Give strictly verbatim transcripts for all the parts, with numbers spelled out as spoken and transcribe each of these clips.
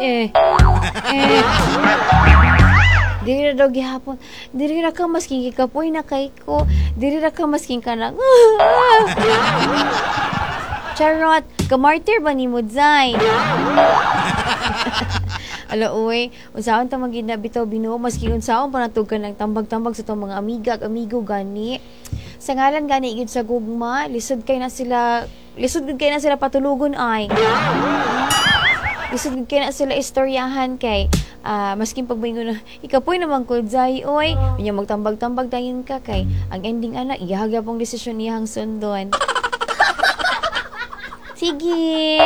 Eh. Eh. Diri ra daw gihapon. Diri ra ka masking gikapoy na kay ko. Diri ra ka masking ka na. Charot, kamartir ba ni mo, Zay? Ala, uy, unsaon ta magid na bitaw binuo, maski unsaon pa natug ka ng tambag-tambag sa itong mga amiga ag amigo gani. Sa ngalan gani gid sa gugma, lisod kay na sila, lisod gid kay na sila patulugon ay. Lisod gid kay na sila istoryahan kay ah, maskin pag moingon na ikapoy naman ko Zay, oy, unya magtambag-tambag dayon ka kay ang ending ana iyahag pong desisyon niyang sundon. Sige.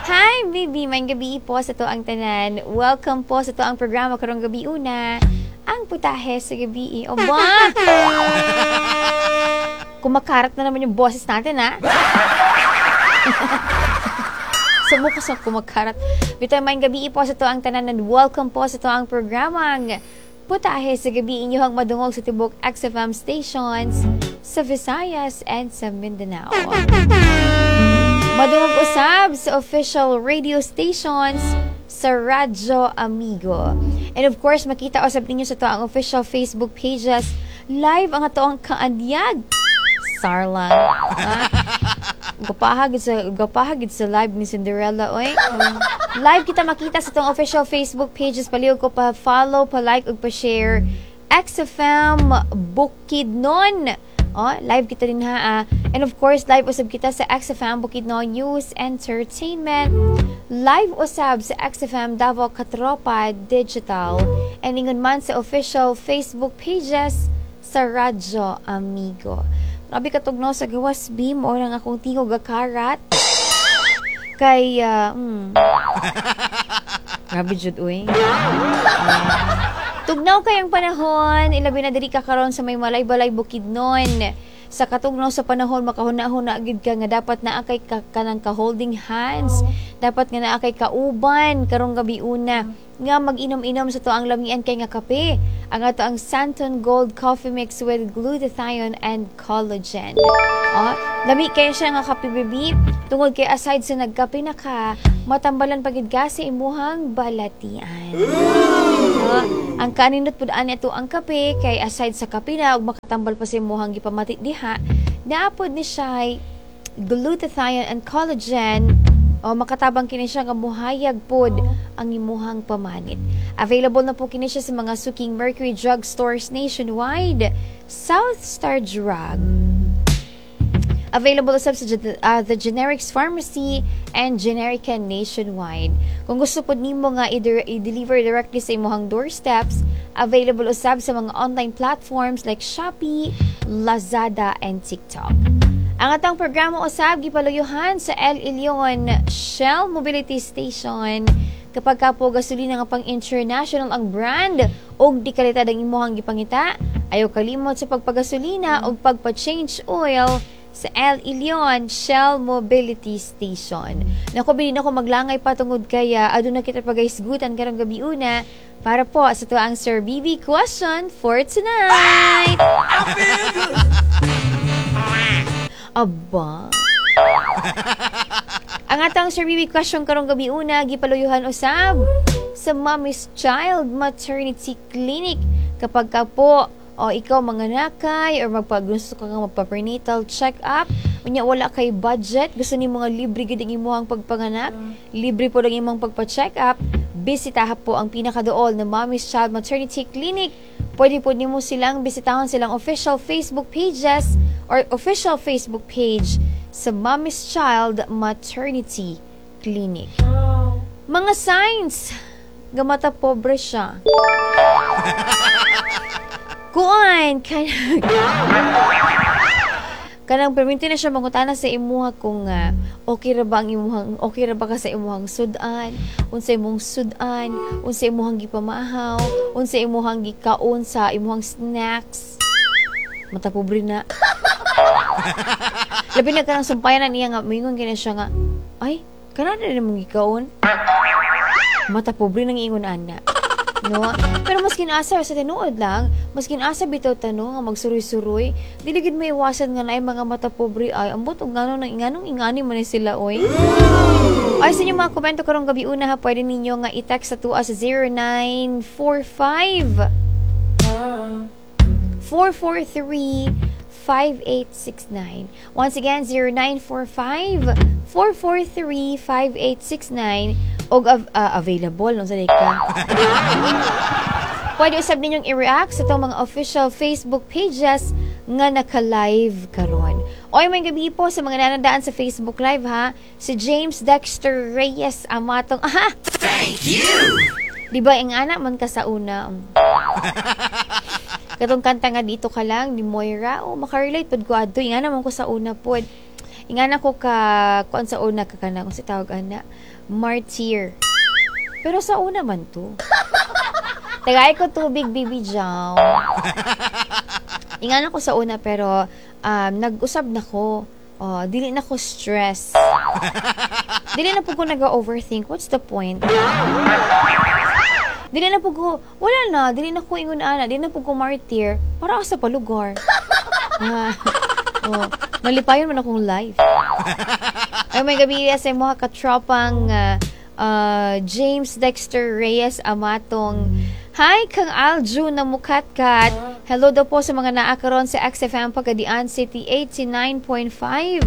Hi, baby. Maayong gabii po sa atoang tanan. Welcome po sa atoang programa karong gabi una. Ang putahe sa gabi. O ba? Kumakarat na naman yung boses natin, ha? Sa mukha sa kumakarat. Bitaw, maayong gabii po sa atoang tanan and welcome po sa atoang programang Putahe sa Gabi, inyong madungog sa tibok X F M stations sa Visayas and sa Mindanao. Madungog usab sa official radio stations sa Radyo Amigo. And of course, makita usab ninyo sa atoang official Facebook pages. Live ang atoang kaanyag. Sarlang. Ha? Gapahagid sa gapahagid sa live ni Cinderella oy. Live kita makita sa atong official Facebook pages. Palihog ko pa follow, pa like ug pa share X F M Bukidnon. Oh, live kita din ha. Ah. And of course, live usab kita sa X F M Bukidnon News Entertainment. Live usab sa X F M Davao Katropa Digital. And ingon man sa official Facebook pages sa Radyo Amigo. Grabe katugnaw sa gawas B mo nang akong tingog karat. Kay, uh, mm, grabe jud uy. Uh, tugnaw kayong panahon, ilabi na diri ka karon sa may Malay-Balay Bukidnon. Sa katugnaw sa panahon, makahuna-huna gid ka nga dapat naa kay ka, kanang ka holding hands, dapat nga naa kay kauban karong gabi una nga mag-inom-inom sa atoang lamian kay nga kape. Ang ato ang Santon Gold Coffee Mix with glutathione and collagen. Oh, lami kay siya nga kape, baby. Tungod kay aside sa nagkape na ka, matambalan pagid ka sa imuhang balatian. Oh, ang kaninot pud ani ato ang kape kay aside sa kape na ug makatambal pa sa imuhang gipamati diha, naapod ni siya glutathione and collagen o makatabang kini siya nga muhayag pod ang imuhang pamanit. Available na po kini siya sa mga suking Mercury Drug stores nationwide, South Star Drug. Available usab sa uh, the Generics Pharmacy and Generica nationwide. Kung gusto pod nimo nga i-deliver directly sa imuhang doorsteps, available usab sa mga online platforms like Shopee, Lazada, and TikTok. Ang atong programa usab gipaluyuhan sa El Ilion Shell Mobility Station. Kapag ka po gasolina nga pang international ang brand og di kalidad ang imuhang gipangita, ayaw kalimot sa pagpagasolina og pagpa-change oil sa El Ilion Shell Mobility Station. Naku, bilin ako maglangay pa tungod kaya aduna kita pagahisgutan karong gabi una para po sa atoang Sir B B question for tonight. Aba. Ang atong Sir B B question karong gabi una gipaluyuhan usab sa Mommy's Child Maternity Clinic. Kapag ka po o ikaw manganakay or magpa gusto ka nga magpa-prenatal check-up, unya wala kay budget, gusto nimo nga libre gid ang imong pagpanganak, libre po ang imong pagpa-check up, bisitaha po ang pinakaduol na Mommy's Child Maternity Clinic. Pwede po nimo silang bisitahon silang official Facebook pages or official Facebook page sa Mommy's Child Maternity Clinic. Mga signs nga mata pobre siya. Kuan, kanang kanang perminti na siya mangutana sa imuha kung uh, okay ra ba ang imuhang okay ra ba ka sa imuhang sudan, unsa imong sudan, unsa imuhang gipamahaw, unsa imuhang gikaon sa imuhang snacks. Mata pobre na. Labi na kanang sumpayan niya nga moingon kini siya nga, "Ay, kana na mong gikaon." Mata pobre nang ingon ana. No? Pero maskin asa sa tinuod lang, maskin asa bitaw tanong nga magsuroy-suroy, dili gid maiwasan nga naay mga mata pobre ay ambot og ngano nang nganong ingani man ni sila oy. Ay, sa inyong mga komento karong gabi una ha, pwede ninyo nga i-text sa atoa sa zero nine four five four four three five eight six nine. Once again, zero nine four five four four three five eight six nine og av- ah, available no sa ka. Pwede usab ninyong i-react sa atong mga official Facebook pages nga naka-live karon. Oy, may gabi po sa mga nanandaan sa Facebook Live ha. Si James Dexter Reyes Amatong. Aha! Thank you! Di ba ang anak man ka sa una? Katong kanta nga "Dito Ka Lang" ni Moira, oh, makarelate pud ko adto. Ingana man ko sa una pod. Ingana ko ka kuan sa una ka kana kung si tawag ana, martyr. Pero sa una man to. Tagay ko tubig, Bibi Jaw. Ingana ko sa una pero um, nag-usab na ko. Oh, dili na ko stress. Dili na po ko nag-overthink. What's the point? Dili na po ko, wala na, dili na ko ingon ana, dili na po ko martyr. Para ako sa palugar. Ah, oh, malipayon man akong life. Ay, may gabi sa mga katropang uh, uh, James Dexter Reyes Amatong. Hi, kang Alju na mukatkat. Hello daw po sa mga naa karon sa X F M Pagadian City eighty-nine point five.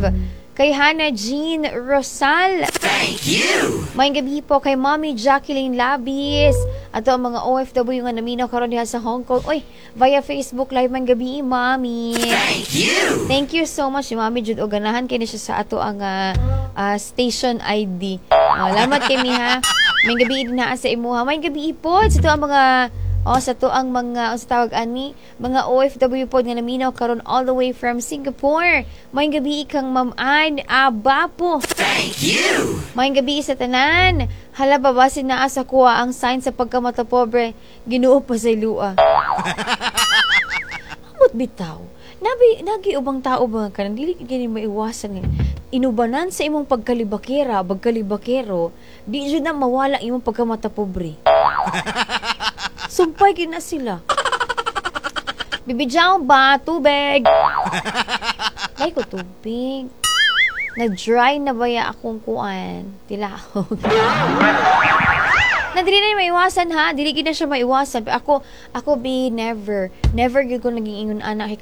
Kay Hannah Jean Rosal. Thank you! May gabi po kay Mommy Jacqueline Labis. Ato ang mga O F W nga naminaw karon diha sa Hong Kong. Uy, via Facebook Live man gabi, Mommy. Thank you! Thank you so much, Mami Jud. O ganahan kay ni siya sa ato ang ah, ah, station I D. Oh, lamat kay mi ha. May gabi din na sa imuha. May gabi po sa ato ang mga, oh, sa to ang mga, sa tawag ani, mga O F W pod nga naminaw karon all the way from Singapore. May gabi kang Ma'am Ann Abapo. Thank you! May gabi sa tanan. Hala, babasin naa sa kuha ang sign sa pagkamata pobre. Ginoo pa sa ilua. Amot bitaw. Nabi, nagi ubang tao ba nga kanang dili gini maiwasan nga inubanan sa imong pagkalibakera, pagkalibakero, di jud na mawala imong pagkamata pobre. Sumpay gid na sila. Bibidyaw ba? Tubig! Ay ko tubig. Nag-dry na ba ya akong kuan? Tilahog. Na dili na maiwasan ha. Dili gid na siya maiwasan. Pero ako, ako be never, never gyud ko naging ingon ana kay